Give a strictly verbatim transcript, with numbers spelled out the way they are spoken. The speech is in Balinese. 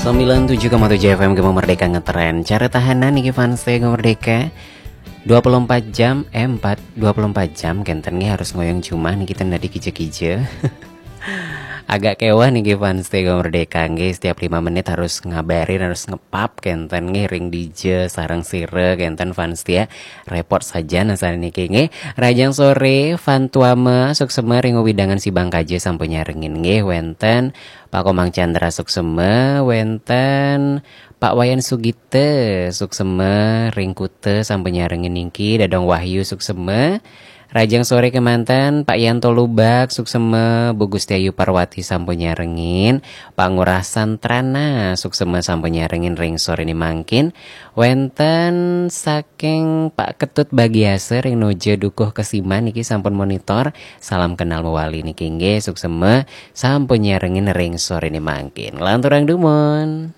Sembilan tujuh koma tujuh F M Gema Merdeka ngetren. Cara tahanan niki fans Gema Merdeka. Dua puluh empat jam, eh, empat, dua puluh empat jam kenten nggih harus ngoyong jumah niki ten dadi kije-kije. Agak kewah niki fans Gema Merdeka nggih, setiap lima menit harus ngabarin, harus ngepap kenten nggih ring dije sareng sira kenten fans ya. Repot saja nasane niki nggih. Rajang sore, Fan Tuama, suksema ring wewidangan Sibang Kaja sampun nyarengin nggih, wenten Pak Komang Chandra suksema, wenten Pak Wayan Sugita suksema ring Kuta sampun nyarengin niki, Dadong Wahyu suksema. Rajang sore kemanten, Pak Yanto Lubak suksema, Bu Gusti Ayu Parwati sampun nyarengin, Pak Ngurah Santrana suksema sampun nyarengin ring sore ni mangkin. Wenten saking Pak Ketut Bagiasa ring Noja Dukuh Kesiman niki sampun monitor. Salam kenal mewali niki nggih, suksema sampun nyarengin ring sore ni mangkin. Lanturang dumun.